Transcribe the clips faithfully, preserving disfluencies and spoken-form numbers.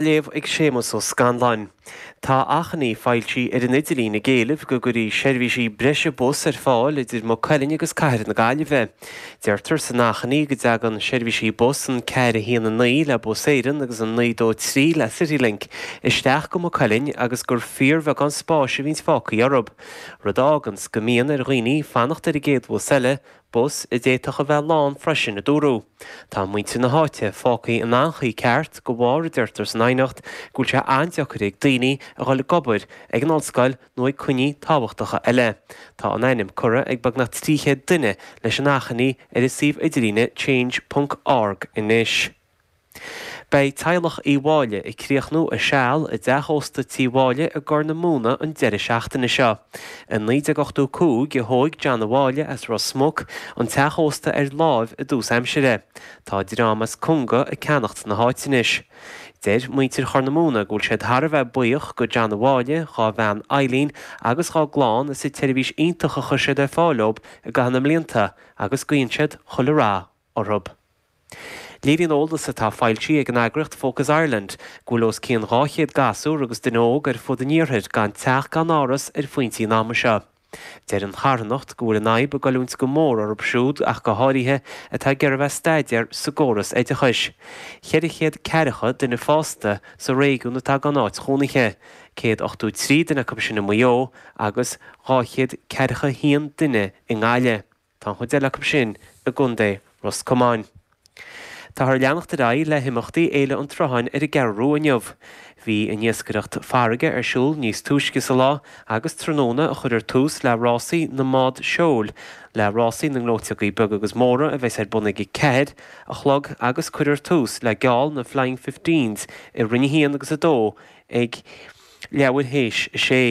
Léamh ag Séamus Ó Scanláin. Tá achainí foilsithe ar an idirlíon ag éileamh go gcuirfí seirbhísí breise bus ar fáil idir Maigh Cuilinn agus Cathair na Gaillimhe. Deirtear san achainí go dtagann seirbhísí bus an ceathair a haon a naoi le Bus Éireann agus an naoi dó trí le Citylink isteach go Maigh Cuilinn agus gur fíorbheagán spáis a bhíonns fágtha orthu, rud a fháganns go mbíonn ar dhaoine fanacht ar an gcéad bhus eile, bus a d'fhéadfadh a bheith lán freisin, a dúradh. Tá muintir na háite fágtha in anchaoi ceart de bharr, a deirtear san aighneacht, go bhfuil sé an-deacair ag daoine a dhul ag obair, ag an ollscoil nó ag coinní tábhachtacha eile. Tá an ainm curtha ag beagnach trí chéad duine leis an achainí ar an suíomh idirlíne change ponc org anois. Beidh teaghlach Uí Mháille ag críochnú a seal i dteach ósta Tí Mháille i gCorr na Móna an deireadh seachtaine seo. I naoi déag ochtó cúig a thóig John Ó Máille as Ros Muc an teach ósta ar láimh i dtús aimsire. Tá dream as Conga ag ceannacht na háite anois. Deir muintir Chorr na Móna go bhfuil siad thar a bheith buíoch go John Ó Máille, dhá bhean Eileen agus dhá gclann as an tseirbhís iontach a chuir siad ar fáil dóibh i gcaitheamh na mblianta agus guíonn siad chuile rath orthu. Léiríonn eolas atá foilsithe ag an eagraíocht Focus Ireland go bhfuil os cionn dhá chéad gasúr agus duine óg ar fud an iarthair gan teach gan áras ar phointí an ama seo. Deir an charthanacht go bhfuil an fhadhb ag goilliúint go mór orthu siúd ach go háirithe atá ag iarraidh a bheith ag staidéar sa gcóras oideachais. Ceithre chéad ceathracha duine fásta sa réigiún atá gan áit chónaithe, céad ochtó trí duine acu sin i Maigh Eo agus dhá chéad ceathracha haon duine i nGaillimh. Tá an chuid eile acu sin i gContae Ros Comáin. Táthar ag leanacht ar aghaidh le himeachtaí Fhéile an tSrutháin ar an gCeathrú Rua inniu. Bhí an iascaireacht farraige ar siúl níos túisce sa lá agus tráthnóna a chuirfear tús le rásaí na mbád seoil, le rásaí na ngleoiteogaí beaga agus móra a bheas ar bun ag a ceathair a chlog agus cuirfear tús le geall na Flying Fifteens i Roinn a haon agus a dó ag leathuair théis a sé.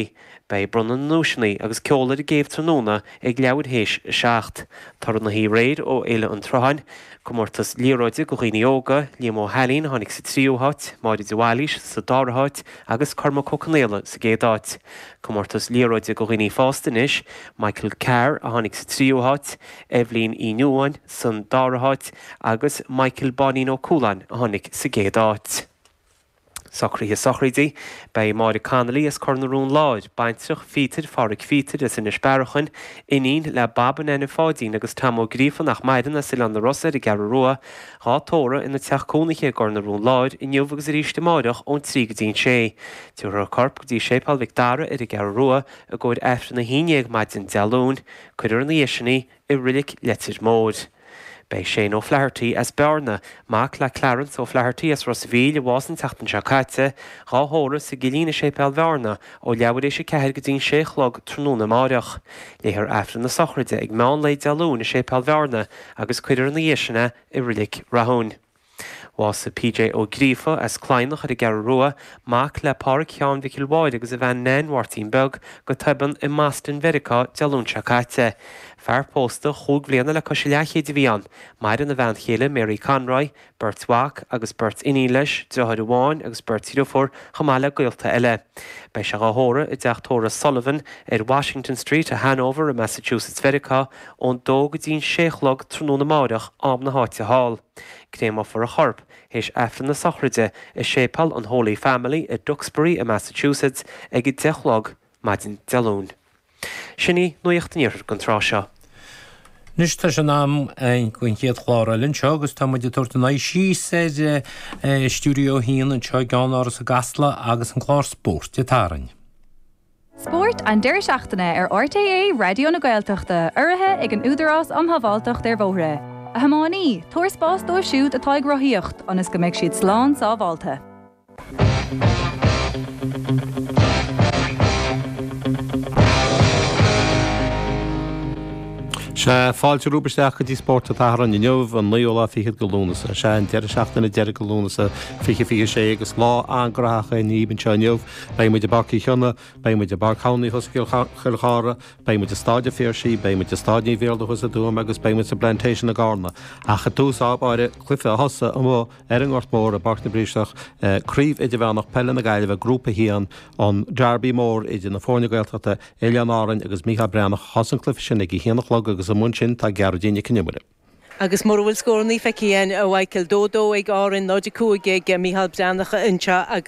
Beidh bronnadh na nduaiseanna agus ceol ar an gcéibh tráthnóna ag leathuair théis a seacht. Toradh na haréir ó Fhéile an tSrutháin, comórtas liathróide do dhaoine óga, Liam Ó hAilín a tháinig sa tríú háit, Máire de Bhailís sa dara háit agus Cormac Ó Conaola sa gcéad áit. Comórtas liathróide do dhaoine fásta anois, Michael Carr a tháinig sa tríú háit, Eibhlín Uí Nuadháin san dara háit agus Michael Báinín Ó Cualáin a tháinig sa gcéad áit. Socruithe sochraide, Beidh Máire Connolly as Cor na Rón Láir, baintreach Phíotair Pháraic Phíotair as Inis Bearachain, iníon le Bab and Nene Pháidín agus Tom Ó Gríofa nach maireann as Oileán na Rosa ar an gCeathrú Rua, dhá tórramh ina teach cónaithe i gCor na Rón Láir inniu agus arís amáireach ón trí go dtí an sé. Tabharfar a corp go dtí Séipéal Mhic Dara ar an gCeathrú Rua i gcomhair Aifreann a haon déag maidin Dé Luain. Cuirfear ina dhiaidh sin í i Reilig Leitir Móir. Beidh Shane O'Flaherty as Bearna, mac le Clarence O'Flaherty as Ros a' Mhíl a bhásaigh an tseachtain seo caite, dhá thórramh sa gCillín i Séipéal Bhearna ó leathuair théis a ceathair go dtí an sé a chlog tráthnóna amáireach. Léifear Aifreann na sochraide ag meán lae Dé Luain i Séipéal Bhearna agus cuirfear ina dhiaidh sin é i Reilig Rathúin. Bhásaigh P J Ó Gríofa as Cladhnach ar an gCeathrú Rua, mac le Páraic Sheáin Mhicil Mháire agus a bhean Nan Mháirtín Beag, go tobann i mBoston Mheiriceá Dé Luain seo caite. Fear pósta chúig bhliana le cois a leathchéid a bhí ann. Maireann a bhean chéile Mary Conroy, beirt mhac agus beirt iníon leis, deartháir amháin agus beirt dhriofúr, chomh maith le gaolta eile. Beidh sé dhá thórramh i dteach tórraimh Sullivan ar Washington Street i Hanover i Massachusetts Mheiriceá ón dó go dtí an sé a chlog tráthnóna amáireach am na háite thall. Créamófar a chorp théis Aifreann na sochraide i Séipéal an Holy Family i Duxbury i Massachusetts ag a deich a chlog maidin Dé Luain. Sin í Nuacht an Iarthair don tráth seo. Anois tá sé in am don chéad chlár eile anseo agus tá muid ag tabhairt an aghaidh síos ar Stiúideo a haon anseo i gceannáras i gCasla agus an clár Spóirt ag tarraing. Spórt an deireadh seachtaine ar R T É Raidió na Gaeltachta, urraithe ag an Údarás um Shábháilteacht ar Bhóithre. A thiománaí, tabhair spás dóibh siúd atá ag rothaíocht, ionas go mbeidh siad slán sábháilte. Sea, fáilte romhaibh isteach go dtí Spórt an tSathairn inniu, an naoú lá fichead de Lúnasa. Sea, an deireadh seachtaine deiridh de Lúnasa fiche fiche sé agus lá an-ghnóthach againn anseo inniu. Beidh muid i bPáirc Uí Chionnaith, beidh muid i bPáirc Thamhnaigh thuas i gCill Chartha, beidh muid i Stáid an Phiarsaigh, beidh muid i Stáid Naomh Iarlaith thuas i dTuaim agus beidh muid sa bPlantation i gCarna. Ach i dtús báire, cluiche a thosaigh amuigh ar an nGort Mór i bPáirc na bPiarsach, Craobh Idirmheánach Peile na Gaillimhe, Grúpa a haon, an Derby mór idir na foirne Gaeltachta, Oileáin Árainn agus Mícheál Breathnach. Thosaigh an cluiche sin ag a haon a chlog agus amuigh ansin tá Gearóidín Nic Con Iomaire. Agus mura bhfuil scóranna feicthe againn a Mhichael dó dó ag Árainn náid a cúig ag Micheál Breathnach anseo agus